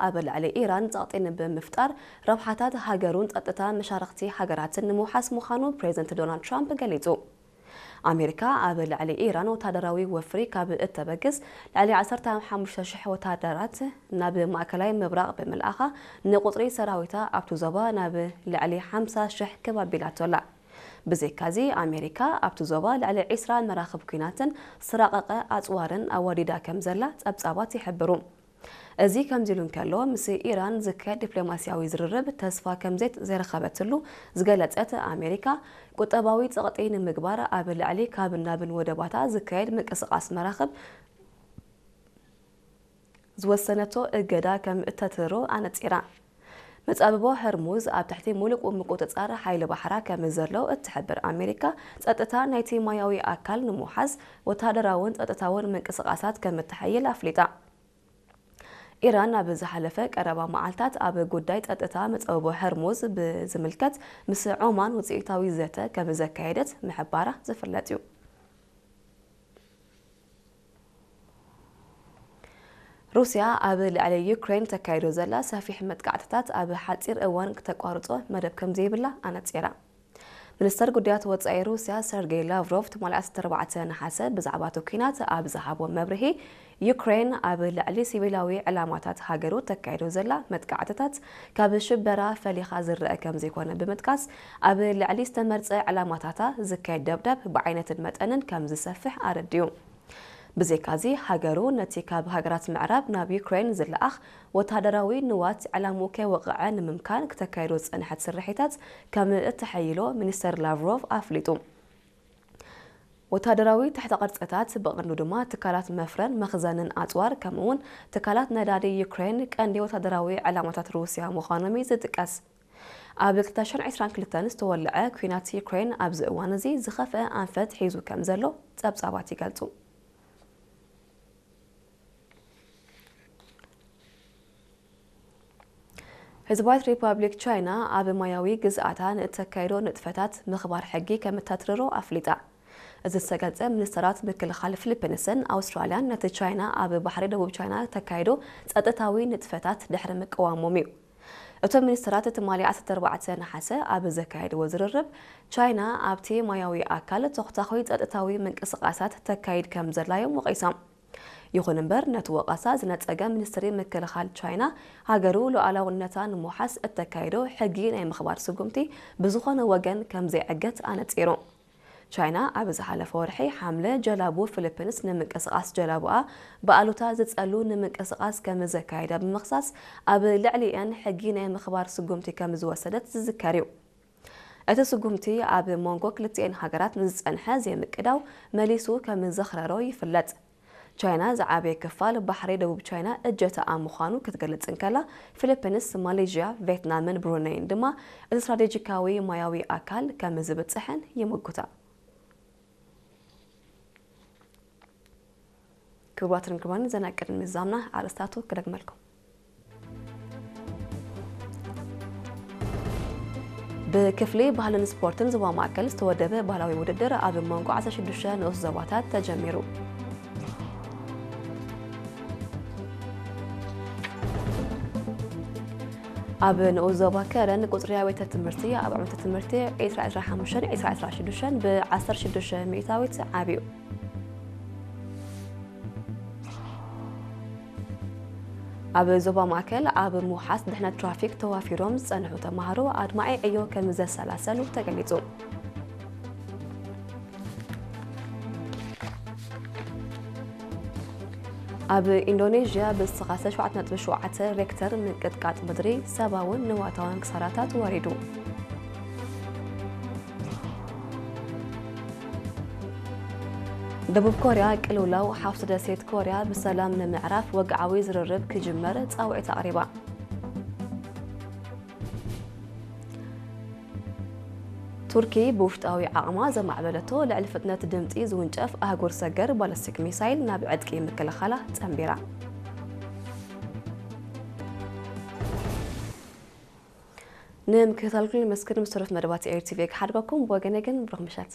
ኣብ ልዕሊ ኢራን ጸቕጢ ብምፍጣር ረብሓታት ሃገሩን ጸጥታ መሻርኽቲ ሃገራትን ንምውሓስ ምዃኑ ፕሬዝደንት ዶናልድ ትራምፕ ገሊጹ። ኣሜሪካ ኣብ ልዕሊ ኢራን ወታደራዊ ወፍሪ ካብ እተበግስ፣ ልዕሊ ዓሰርተ ሓሙሽተ ሽሕ ወታደራት ናብ ማእከላይ ምብራቕ ብምልኣኻ፣ ንቁጽሪ ሰራዊታ ኣብቲ ዞባ ናብ ልዕሊ ሓምሳ ሽሕ ከብ ኣቢላቶ ኣላ። ብዘይካዚ፣ ኣሜሪካ ኣብቲ ዞባ ልዕሊ ዒስራ መራኽብ ኲናትን ዝተራቐቐ ኣጽዋርን ኣዋዲዳ ከም ዘላ ጸብጻባት ይሕብሩ። እዚ ከምዚ ኢሉ እንከሎ፣ ምስ ኢራን ዝካየድ ዲፕሎማስያዊ ዝርርብ ተስፋ ከም ዘይት-፣ ዘይረኸበትሉ ዝገለጸት ኣሜሪካ፣ ቁጠባዊ ጸቕጢ ንምግባር ኣብ ልዕሊ ካብን ናብን ወደባታ ዝካየድ ምንቅስቓስ መራኽብ ዝወሰነቶ እገዳ ከም እተትርሮ ኣነጺራ። መጻብቦ ሆርሙዝ ኣብ ትሕቲ ምሉእ ምቁጽጻር ሓይሊ ባሕራ ከም ዘሎ እትሕብር ኣሜሪካ፣ ጸጥታ ናይቲ ማያዊ ኣካል ንምውሓስ ወተሃደራውን ጸጥታውን ምንቅስቓሳት ከም እተሐይል ኣፍሊጣ። ኢራን ኣብ ዝሓለፈ ቀረባ መዓልታት ኣብ ጉዳይ ጸጥታ መጻብቦ ሆርሙዝ ብዝምልከት ምስ ዖማን ውጽኢታዊ ዘተ ከም ዘካየደት ምሕባራ ዝፍለጥ እዩ። ሩስያ ኣብ ልዕሊ ዩክሬን ተካይዶ ዘላ ሰፊሕ መጥቃዕትታት ኣብ ሓጺር እዋን ክተቋርጾ መደብ ከም ዘይብላ ኣነጺራ። ሚኒስተር ጉዳያት ወጻኢ ሩስያ ሰርጌይ ላቭሮቭ ትማሊ ዓሰርተ ኣርባዕተ ነሓሰ ብዛዕባ እቲ ኲናት ኣብ ዝሃቦ መብርሂ፣ ዩክሬን ኣብ ልዕሊ ሲቪላዊ ዕላማታት ሃገሩ ተካይዶ ዘላ መጥቃዕትታት ካብ ሽበራ ፈሊኻ ዝረአ ከም ዘይኮነ ብምጥቃስ፣ ኣብ ልዕሊ ዝተመርጸ ዕላማታታ ዝካየድ ደብዳብ ብዓይነትን መጠንን ከም ዝሰፍሕ ኣረዲኡ። ብዘይካዚ፣ ሃገሩ ነቲ ካብ ሃገራት ምዕራብ ናብ ዩክሬን ዝለኣኽ ወተሃደራዊ ንዋት ዕላምኡ ከይወቕዐ ንምምካን ክተካይዶ ዝጸንሐት ስርሒታት ከም እተሐይሎ ሚኒስተር ላቭሮቭ ኣፍሊጡ። ወተሃደራዊ ትሕተ ቅርጽታት፣ ብቐንዱ ድማ ትካላት መፍረን መኽዘንን ኣጽዋር፣ ከምኡ'ውን ትካላት ነዳዲ ዩክሬን ቀንዲ ወተሃደራዊ ዕላማታት ሩስያ ምዃኖም እዩ ዝጥቀስ። ኣብ ክልተ ሽሕን ዕስራን ክልተን ዝተወልዐ ኲናት ዩክሬን ኣብዚ እዋን እዚ ዝኸፍአ ኣንፈት ሒዙ ከም ዘሎ ጸብጻባት ይገልጹ። ህዝባዊት ሪፓብሊክ ቻይና ኣብ ማያዊ ግዝኣታ ንእተካይዶ ንጥፈታት ምኽባር ሕጊ ከም እተትርሮ ኣፍሊጣ። እዚ ዝተገልጸ፣ ሚኒስተራት ምክልኻል ፊሊፒንስን ኣውስትራልያን ነቲ ቻይና ኣብ ባሕሪ ደቡብ ቻይና ተካይዶ ጸጥታዊ ንጥፈታት ድሕሪ ምቅዋሞም እዩ። እቶም ሚኒስተራት ትማሊ ዓሰርተ ኣርባዕተ ነሓሰ ኣብ ዘካየድዎ ዝርርብ፣ ቻይና ኣብቲ ማያዊ ኣካል ተኹታኹይ ጸጥታዊ ምንቅስቓሳት ተካይድ ከም ዘላ እዮም ወቒሶም። ይኹን እምበር፣ ነቲ ወቐሳ ዝነጸገ ሚኒስትሪ ምክልኻል ቻይና፣ ሃገሩ ሉዓላውነታ ንምውሓስ እተካይዶ ሕጊ ናይ ምኽባር ስጉምቲ ብዝኾነ ወገን ከም ዘይዕገት ኣነጺሩ። ቻይና ኣብ ዝሓለፈ ወርሒ ሓምለ፣ ጀላቡ ፊሊፒንስ ንምንቅስቓስ ጀላቡኣ ብኣሉታ ዝጸሉ ንምንቅስቓስ ከም ዘካየዳ ብምኽሳስ፣ ኣብ ልዕሊኤን ሕጊ ናይ ምኽባር ስጉምቲ ከም ዝወሰደት ዝዝከር እዩ። እቲ ስጉምቲ ኣብ መንጎ ክልቲኤን ሃገራት ንዝጸንሐ ዘይምቅዳው መሊሱ ከም ዘኽረሮ ይፍለጥ። ቻይና ዝዓበየ ክፋል ባሕሪ ደቡብ ቻይና እጀታኣ ምዃኑ ክትገልጽ እንከላ፣ ፊሊፒንስ፣ ማሌዥያ፣ ቬትናምን ብሩነይን ድማ እቲ ስትራቴጂካዊ ማያዊ ኣካል ከም ዝብጽሐን ይምጉታ። ክቡራትን ክቡራን፣ ዘና ቅድሚ ምዛምና ኣርእስታቱ ክደግመልኩም። ብክፍሊ ባህልን ስፖርትን ዞባ ማእከል ዝተወደበ ባህላዊ ውድድር ኣብ መንጎ ዓሰርተ ሽዱሽተ ንኡስ ዞባታት ተጀሚሩ። ኣብ ንኡስ ዞባ ከረን ቁጽሪ ኣብያተ ትምህርቲ ኣብ ዓመተ ትምህርቲ ዕስራ ዕስራ ሓሙሽተን ዕስራ ዕስራ ሽዱሽተን ብ ዓሰርተ ሽዱሽተ ሚእታዊት ዓብዩ። ኣብ ዞባ ማእከል ኣብ ምውሓስ ድሕነት ትራፊክ ተዋፊሮም ዝጸንሑ ተማሃሮ ኣድማዒ ዕዮ ከም ዘሰላሰሉ ተገሊጹ። ኣብ ኢንዶኔዥያ ብዝተኻሰ ሸውዓተ ነጥቢ ሸውዓተ ሬክተር ምንቅጥቃጥ ምድሪ ሰብኣውን ንዋታውን ክሳራታት ወሪዱ። ደቡብ ኮርያ ቅልውላው ሓፍቲ ደሴት ኮርያ ብሰላም ንምዕራፍ ወግዓዊ ዝርርብ ክጅመር ጻውዒት ኣቕሪባ። ቱርኪ ብውሽጣዊ ዓቕማ ዘማዕበለቶ ልዕሊ ፍጥነት ድምጺ ዝውንጨፍ ኣህጉር ሰገር ባለስቲክ ሚሳይል ናብ ዕጥቂ ምክልኻላ ጸንቢራ። ንምክትታልኩም ነመስግን። ምስ ተረፍ መደባት ኤሪ ቲቪ ክሓድገኩም። ብወገነ ግን ብሩኽ ምሸት።